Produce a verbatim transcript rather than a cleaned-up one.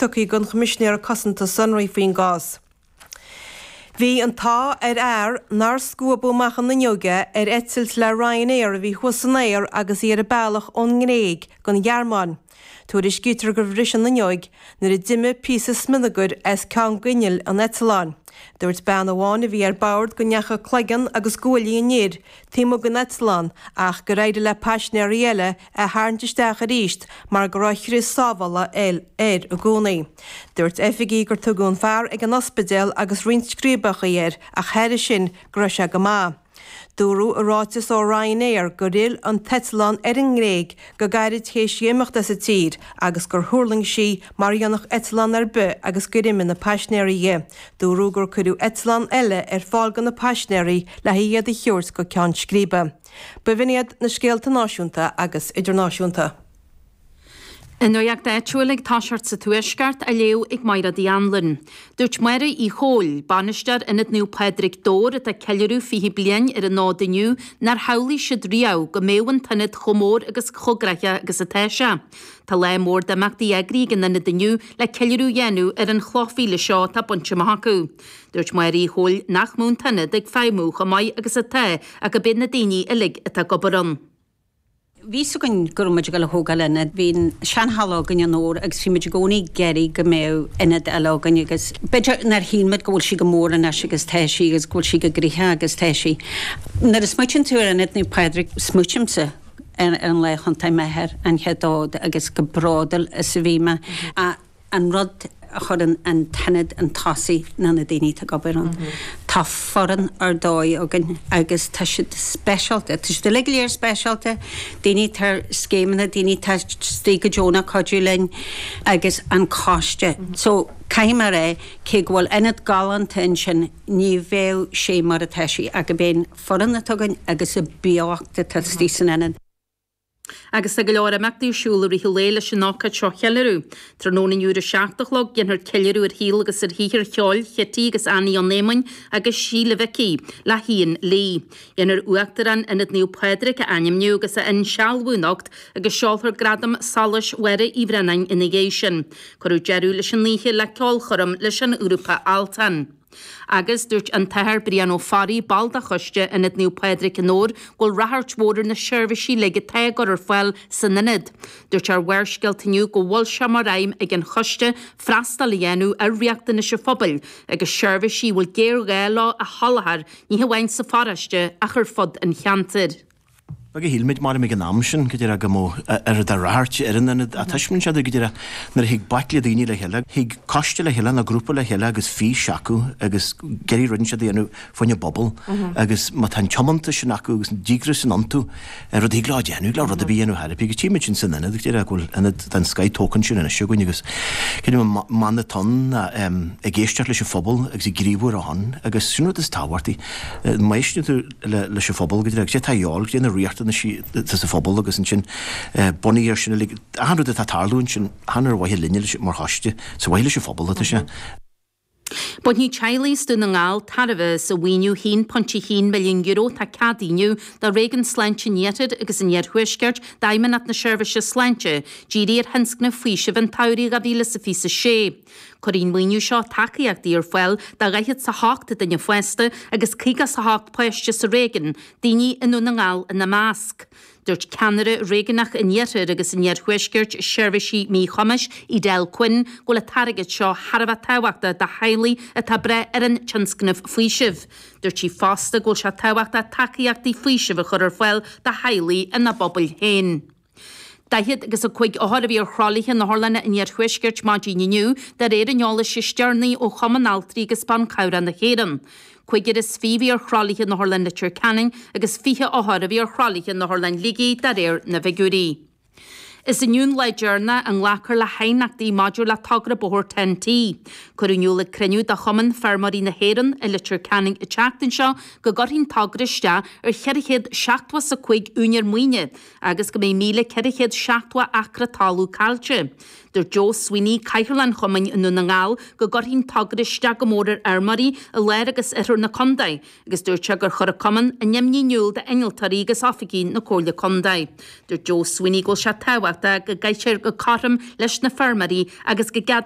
tugtha don Choimisinéir Cosanta Sonraí faoin gcás. Bhí an t-ádh ar fhear nár scuabadh amach an fhuinneog ar eitilt le Ryanair a bhí thuas san aer agus í ar a bealach ón nGréig don Ghearmáin. Tuairiscítear gur bhris an fhuinneog nuair a d'imigh píosa smionagair as ceann d'inneall an eitleáin. Dúirt bean amháin a bhí ar bord go ndeachaigh cloigeann agus guaillí an fhir taobh amuigh den eitleán ach gur éirigh le paisinéirí eile é a tharraingt isteach arís mar go raibh crios sábhála air i gcónaí. Dúirt oifigigh gur tugadh an fear ag an ospidéal agus roinnt scríobacha air ach thairis sin go raibh sé go maith. Dúradh i ráiteas ó Ryanair gur fhill an t-eitleán ar an nGréig go gairid théis di imeacht as an tír agus gur thuirling sí mar a dhéanfadh eitleán ar bith agus gur imigh na paisinéirí di. Dúradh gur cuireadh eitleán eile ar fáil do na paisinéirí le hiad a thabhairt go ceann scríbe. B'in iad na scéalta náisiúnta agus idirnáisiúnta. An nuacht áitiúil ag toiseacht sa Tuaisceart á léamh ag Máire Uí Anluain. Dúirt Máire Uí Chomhaill, bainisteoir Ionad Naomh Pádraig Dobhair atá ag ceiliúradh fiche bliain ar an fhód inniu nár shamhlaigh siad riamh go mbeadh an t-ionad chomh mór agus chomh gnóthach agus atá sé. Tá lá mór d'imeachtaí eagraithe ag an ionad inniu le ceiliúradh a dhéanamh ar an chloch mhíle seo atá bainte amach acu. Dúirt Máire Uí Chomhaill nach mbeadh an t-ionad ag feidhmiú chomh maith agus atá ach gurb iad na daoine uilig atá ag obair ann. Bhí a fhios againn go raibh muid ag dul a thógáil ionad, bhí an seanhalla againn i nDobhar agus bhí muid i gcónaí ag iarraidh go mbeadh ionad eile againn agus b'fhéidir nár shíl muid go bhfuil sí go mór anois agus tá sí agus go bhfuil sí go gnoitheach agus tá sí. Nuair a smaoitíonn tú ar Ionad Naomh Pádraig smaoitímse ar an lá a thiontaigh m'athair an chéad fhód agus go bródúil is a bhí mé. An rud a chuireann an t-ionad chun tosaigh ná na daoine atá ag obair ann. Tá foireann ar dóigh againn agus tá siad speisialta, tá siad uilig go léir speisialta, daoine atá ar scéimeanna, daoine atá istigh go deonach cuidiú linn agus an coiste. So caithfidh mé a rá cé go bhfuil ionad galánta ansin ní bheadh sé mar atá sé ach gurb é an foireann atá againn agus an beocht atá istigh san ionad. Agus tá go leor imeachtaí ar siúl i rith an lae leis an ócáid seo a cheiliúradh. Tráthnóna inniu ar a seacht a chlog déanfar ceiliúradh ar shaol agus ar shaothar cheoil Chití agus Annie Ó Éamoinn agus Síle Mhicí le hIan Lee. Déanfar Uachtarán Ionad Naomh Pádraig a ainmniú agus a insealbhú anocht agus seolfar gradam Solais Mháire Uí Bhraonáin ina dhiaidh sin. Cuireadh deireadh leis an oíche le ceolchoirm leis an ghrúpa Altan. Agus dúirt an tAthair Brian Ó Fearraigh ball de choiste Ionad Naomh Pádraig i nDobhar go bhfuil ráchairt mhór ar na seirbhísí uilig atá á gcur ar fáil san ionad. Dúirt ar Bharrscéalta inniu go bhfuil sé mar aidhm ag an choiste freastal a dhéanamh ar riachtanais an phobail agus seirbhísí a bhfuil géarghá leo a sholáthar ní hamháin sa pharóiste ach ar fud an cheantair. Beag a shíl muid mar ag an am sin go dtí go mbeadh ar a ráchairt ar an ionad a tuiscint siad go dtí nuair a thig baicle daoine le chéile, thig coiste le chéile na grúpa le chéile agus fís acu agus géirí rud siad dhéanamh faoin bpobal agus má tá an tiomantas sin acu agus an díograis sin iontu ar rud thig leo déanamh le rud a bhí dhéanamh therapy agus tímid sin san ionad go dtí go bhfuil ionad den scoth tógtha ansin anois againn agus cén man atá ag éisteacht leis an phobal agus ag gníomhú ar a shon agus sin rud is tábhachtaí má éisteann tú leis an phobal go dtí sé tá eol go dtí na riachtanais sa phobal agus ansin bunaithe ar sin achan rud atá ag tarlú ansin chan ar mhaithe linne mar choiste sa mhaithe leis an phobal atá sé. Bainfidh teaghlaigh as Dún na nGall tairbhe as an mhaoiniú haon pointe haon milliún euro atá ceadaithe inniu do Réigiún Sláinte an Iarthair agus an Iarthuaiscirt d'Fheidhmeannacht na Seirbhíse Sláinte, dírithe ar thionscnamh faoisimh an tsamhraidh dhá mhíle is fiche sé. Cuirfidh an maoiniú seo tacaíochtaí ar fáil do dhaichead is a hocht duine fásta agus caoga is a hocht páiste sa réigiún, daoine i nDún na nGall ina measc. Dúirt ceannaire réigiúnach an Iarthair agus an Iarthuaiscirt seirbhísí míchumais Edel Quinn go bhfuil an t-airgead seo thar a bheith tábhachtach do theaghlaigh atá ag brath ar an tionscnamh faoisimh. Dúirt sí fosta go bhfuil sé tábhachtach tacaíochtaí faoisimh a chur ar fáil do theaghlaigh ina bpobail féin. Daichead agus a cúig othar a bhí ar thralaithe in otharlanna an Iarthuaiscirt maidin inniu de réir an eolais is deireanaí ó Chumann Altraí agus Ban Cabhrach na hÉireann. Cúigear is fiche a bhí ar thralaithe in Otharlann Leitir Ceanainn agus fiche othar a bhí ar thralaithe in Otharlann Shligigh de réir na bhfigiúirí. Is inniu an lá deireanach a nglacfar le haighneachtaí maidir le togra bóthair Ten T. Cuireadh in iúl ag cruinniú de Chumann Feirmeoirí na hÉireann i Leitir Ceanainn an tseachtain seo go gcuirfidh an togra isteach ar cheithre chéad seachtó is a cúig úinéir maoine agus go mbeidh míle ceithre chéad seachtó acra talún caillte. Dúirt Joe Sweeney Cathaoirleach an Chumainn i Ndún na nGall go gcuirfidh an togra isteach go mór ar fheirmeoirí i lár agus oirthear na contae, agus dúirt sé gur chuir an cumann a n-imní in iúl d'innealtóirí agus oifigigh na Comhairle Contae. Dúirt Joe Sweeney go bhfuil sé tábhachtach go gcaitear go cothrom leis na feirmeoirí agus go gceadófar